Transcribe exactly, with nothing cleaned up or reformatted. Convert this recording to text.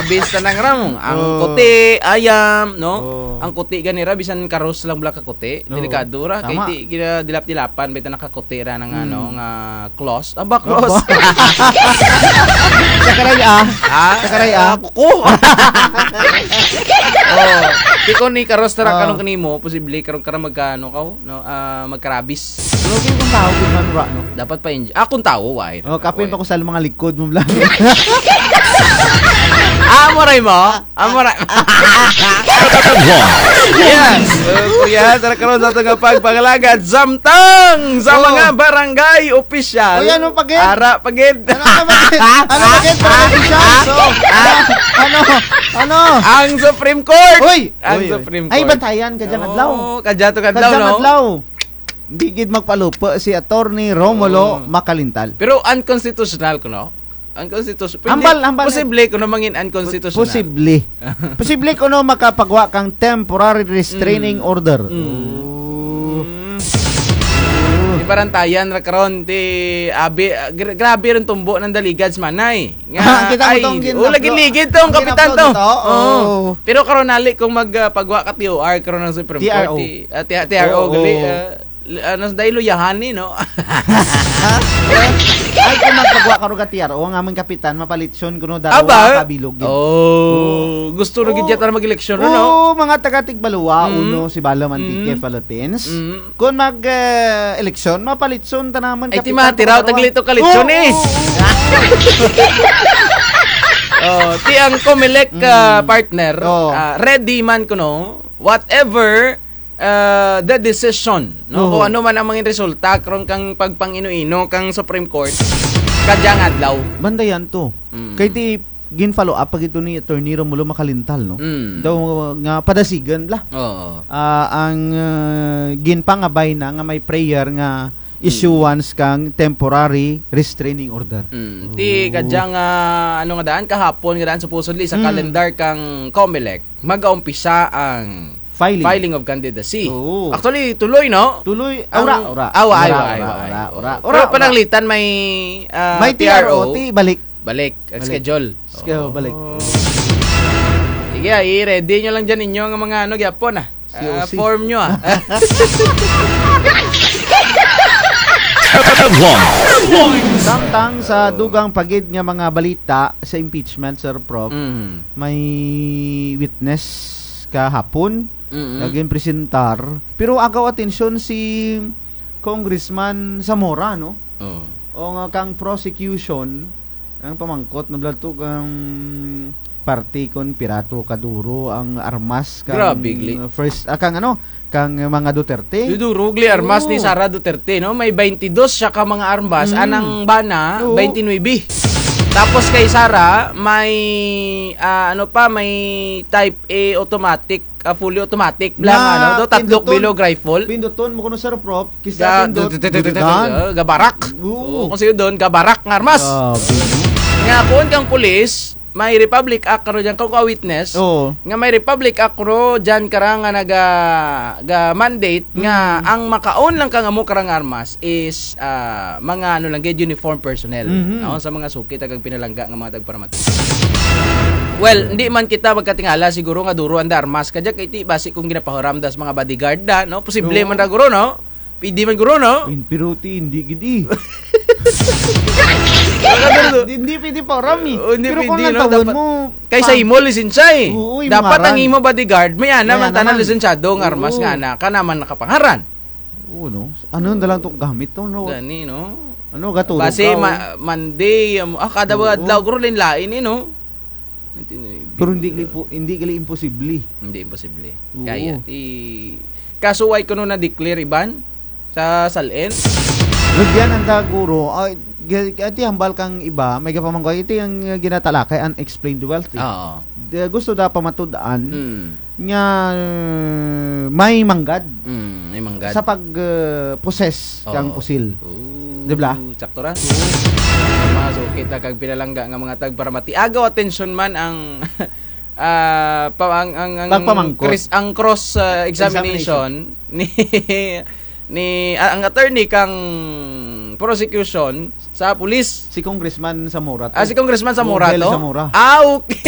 Bis tanang ram, ang kuti, ayam, no? Ang kuti gani ra, bisan karos lang bala ka kuti, delikado ra, kay ti gina dilap-dilapan, bitaw nakakuti ra nga, ano, nga close. Aba, close. Sakaray, ah. Ha? Sakaray, ah. Kuko. Oh, ti kon ni karos ra kanang kanimo, posible karon ka ra magka-, ano ka, no? Ah, magkarabis. Pero kung tawo, kung ano ra, no? Dapat pa-inj-, ah, kung tawo, why? Oh, kapin pa ko sa mga likod mo lang. Amo ra imo? Amo ra. Yes. Uh, kuya, tara karon sa atong pagpangalagad samtang sa mga barangay opisyal. Uy, ano pa gid? Ara pa gid. Ano pa gid? Ano pa gid, barangay opisyal? So, ano? Ano? Ang Supreme Court. Uy! Ang Supreme Court. Ay, bantayan ka dyan, adlaw. Oh, kadya to kadlaw, no? Kadya adlaw. Hindi gid magpalupa si Attorney Romulo Macalintal. Pero unconstitutional kuno. Unconstitutional. Hambal, hambal. Posible kuno mangin unconstitutional. Posible. Posible kuno makapagwa kang temporary restraining order. Mm. Oh. Mm. Ti barantayan ra karon ti abi, ah, gra-, grabe run tumbo ng daligad sa manay. Nga, kita mo ay, tong oh, lagi ligid to, ang kapitan to. Oo. Pero karon nali kung mag, ah, pagwa ka T O R, karon ang Supreme Court, ti-, ah, ti-, T R O, gali, ah, l-, ano, dahil luyahan ni, no? Ay, kung magpagwa ka ro ka T R O, ang aming kapitan, mapalitson kuno, darwa ka bilog gid. Oh, gusto ro gid yata mag-eleksyon, no? Oo, mga taga Tigbaluwa, uno, si Bala Mantique, Philippines. Kon mag, eh, eleksyon, mapalitson ta naman. Ay, ti kapitan, matiraw, tagli to kalitson, eh. Oo, oo, oo. Oh, ti ang Comelec, ah, partner, ah, ready man kuno, whatever, ah, the decision, no? Kung ano man ang mga resulta, karon kang pagpangino-ino kang Supreme Court, kadyang adlaw. Bantayan to. Mm. Kay ti gin-follow up pa gid to ni Attorney Romulo Macalintal, no? Mm. Daw nga padasigan bala. Oo. Ah, ang, ah, ginpangabay na nga may prayer nga issuance kang temporary restraining order. Mm. Ti kadyang, ah, ano nga daan, kahapon nga daan, supposedly, sa calendar kang Comelec, mag-aumpisa ang filing of candidacy. Oo. Actually, tuloy, no? Tuloy. Ang, ah, ura, ura. Ah, ura, ura, ura, ura. Pero pananglitan may, ah, may T R O, T R O, ti balik. Balik ang schedule. Schedule, balik. Oh. Sige, ah, i-ready nyo lang dyan inyo ang mga ano, gyapon, ah. Ah, C O C. Form nyo, ah. Samtang sa dugang pa gid nga mga balita sa impeachment, Sir Prof, mm, may witness kahapon, mm-mm, nga ginpresentar. Pero agaw atensyon si Congressman Zamora, no? Oo. O nga kang prosecution, ang pamangkot na bala to kang parte kon pira to kaduro ang armas kang, grabe, gali, first, ah, kang ano, kang mga Duterte. Duduro gali armas ni Sara Duterte, no? May baynte dos siya ka mga armas, mm, anang bana, oo, baynte nuebe. Tapos kay Sara, may, ah, ano pa, may type A automatic, ah, fully automatic lang, ano, do, tatlok bilog rifle. Pinduton mo kuno, Sir Prof, kisa pindot, dududan. Gabarak. Oo. Oo, kung sa'yo doon, gabarak nga armas. Grabe, no? Nga, kuon kang pulis, may Republic Act karo dyan, kung ka-witness, oo, nga may Republic Act karo dyan kara nga naga, ga-mandate nga ang maka-own lang kang amo kara nga armas is, ah, mga ano lang gid, uniform personnel, mhm, no? Sa mga suki, tagang pinalangga nga mga tagparamati. Well, hindi man kita magkatingala siguro nga duro anda armas kadya kay ti basi kung ginapahuram da sa mga bodyguard da, no? Posible man ra guro, no? Pwede man guro, no? Pero ti, hindi gid, eh. Hindi pwede pahuram, eh. Oh, hindi pwede, no? Pero kung ang tawon mo, kay sa imo lisensya, eh. Oo, imo ngaran. Dapat ang imo bodyguard, may ana man tana lisensyado nga armas nga ana, kana man nakapangaran. Oo, no? Ano na lang tong gamit to, no? Gani, no? Ano, gaturog ka, oh. Base ma-, Monday, um, ah, kada adlaw, guro, lain-lain, eh, no? Pero hindi gali po, hindi gali imposible. Hindi imposible. Oo. Kaya, ti, kaso why kuno na-declare, Iban? Sa SALN? Rugyan ang taguro, ay, Ga-, ati hambal kang iba, may gapamangkot, ito yung, uh, ginatalakay, unexplained wealth, eh. Oo. Di, gusto da pamatud-an, mm, nga, uh, may manggad. Mm, may manggad. Sa pag, uh, possess kang pusil. Oo. Di ba? Sakto ra. Oo. Mga suki ta kag pinalangga nga mga tagparamati. Agaw atensyon man ang, ah, pa-, ang, ang, ang pagpamangkot. Kris-, ang cross, uh, examination ni ni, ah, ang attorney kang prosecution sa pulis. Si Congressman Zamora to. Ah, si Congressman Zamora to? Rogel Zamora. Ah, okay.